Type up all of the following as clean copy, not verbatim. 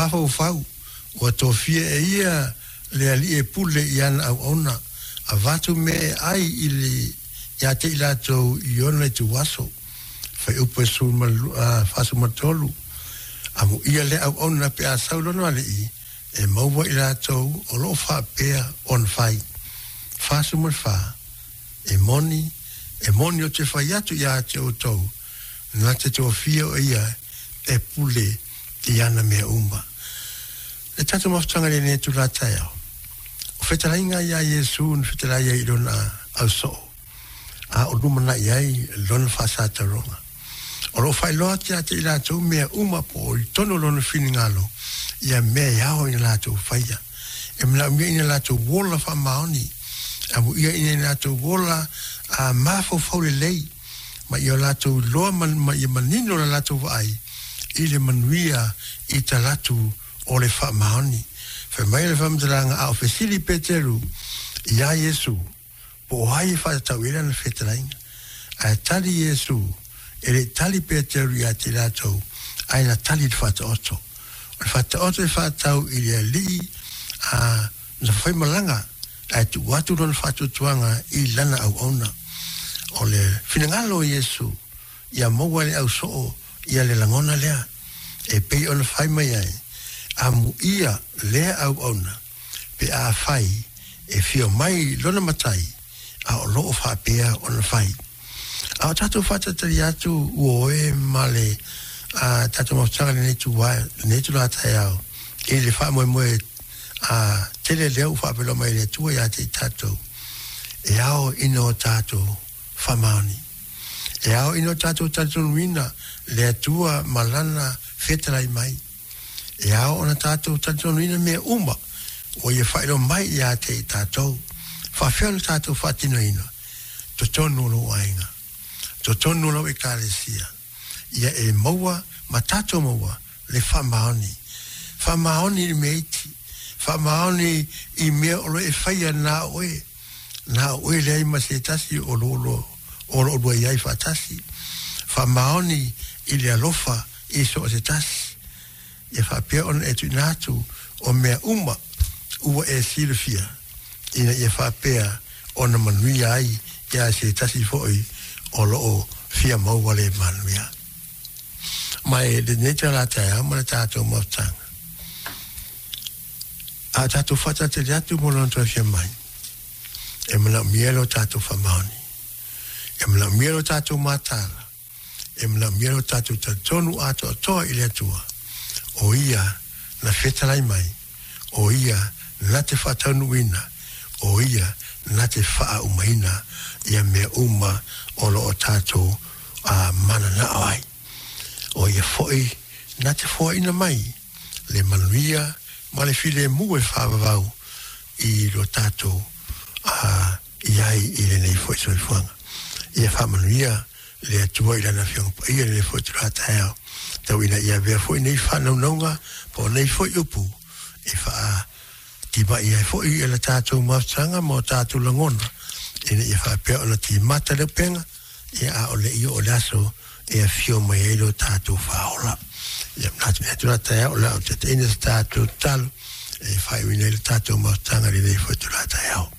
mafaufau ua tofia e ia le alii e pule i ana auauna, avatu mea e ai i le ia te i latou i ona ituaso. Fuaiupu 43, Amuia lea auauna pe a sau lona alii, e maua i latou o lo o faapea ona fai. 44, E moni, e moni ou te fai atu ia te outou, na te tofia o ia e pule i ana mea uma. Le tatou mafutaga i lenei itula taeao, o fetalaiga iā Iesu na fetalai ai i lona ausoo, a o lumanai ai lona faasataroga. O lo o faailoa atu ia te i latou mea uma po o i totonu o lona finagalo ia mea e ao ina latou faia. E manaomia ina latou ola faamaoni, amuia ina latou ola a mafaufau lelei, ma ia latou iloa ma ia manino la latou vaai i le manuia i talatu o le faamaoni. Fai mai le faamatalaga a o fesili Peteru iā Iesu, Po o ai e faatatau i ai lana fetalaiga. Ae tali Iesu, E le i tali Peteru ia te latou, ae na tali i le faataoto. O le faataoto e faatatau i le alii a na faimalaga ae tuu atu lona faatuatuaga i lana auauna. O le finagalo o Iesu ia maua e le ausoo ia le lagona lea, e pei ona fai mai ai, Amuia lea auauna pe afai e fia mai lona matai, a o lo o faapea ona fai. A o tatou faatalitali atu ua oe ma le a tatou mafutaga lenei itula, lenei itula taeao i le faamoemoe a tele lea ua faapelo mai e le Atua ia te i tatou, e ao ina o tatou faamaoni. E ao ina o tatou talitonuina le Atua ma Lana fetalai mai. E ao ona tatou talitonuina mea uma ua ia faailoa mai ia te i tatou. Faafefea ona tatou faatinoina totonu o lou aiga, totonu o lau ekalesia, ia e maua ma tatou maua le faamaoni. Faamaoni i le mea iti, faamaoni i mea o lo e faia na o oe, na o oe leai ma se tasi o lo o lo olua i ai faatasi. Faamaoni i le alofa i so o se tasi, ia faapea ona e tuuina atu o mea uma ua e silafia, ina ia faapea ona manuia ai ia se tasi foi o lo o fia maua le manuia. Ma e lenei tala taeao ma le tatou mafutaga, a tatou faatalitali atu mo lona toe fia mai, e manaomia lo tatou faamaoni, e manaomia lo tatou mataala, e manaomia lo tatou talitonu atoatoa i le Atua, o Ia na fetalai mai, o Ia na te faataunuuina, o Ia na te faaaumaina ia mea uma o lo o tatou mananao ai. O Ia foi na te foaina mai le manuia ma le filemu e faavavau i lo tatou i ai i lenei foi soifuaga. Ia faamanuia le Atua i Lana Afioga Paia i lenei foi itula taeao, tau ina ia avea foi nei faanaunauga po o nei foi upu e faatima'i ai foi i la tatou mafutaga ma o tatou lagona, ina ia faapea ona timata le upega, ia a o le i oo le aso e afio mai ai lo tatou Faaola. Ia manatu i itula taeao o le a ou taitaiina se tatou tatalo e faaiuina ai le tatou mafutaga i lenei foi itula taeao.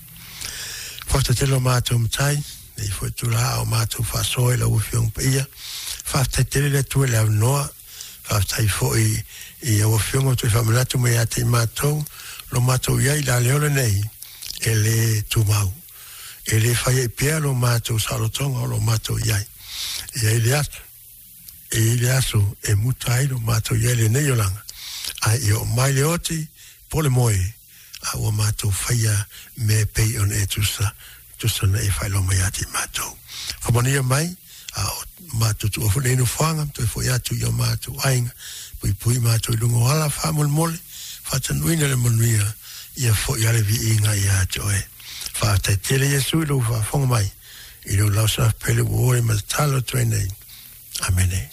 Faafetai tele lo matou Matai, nei foi itula a o matou faasoa i lau Afioga Paia. Faafetai tele le Atua i le avanoa. Faafetai foi i lau Afioga ua toe faamanatu mai ia te i matou lo matou i ai i le aleola nei e le tumau. E le fai ai pea lo matou saolotoga o lo matou i ai. E i ai le aso, e i ai le aso e muta ai lo matou i ai lenei olaga, ae ia oo mai le oti po le moe, a ua matou faia mea e pei ona e tusa, tusa ona e faailoa mai ia te matou. Faamanuia mai, a o matou tuua foi nei nofoaga, toe foi atu i o matou aiga, puipui matou i luga o ala faamolemole, faatanuuina le manuia, ia foi a le viiga ia te oe. Faafetai tele Iesu i lou faafofoga mai, i lou lausafi pele ua o le ma tatalo atu ai nei. Amene.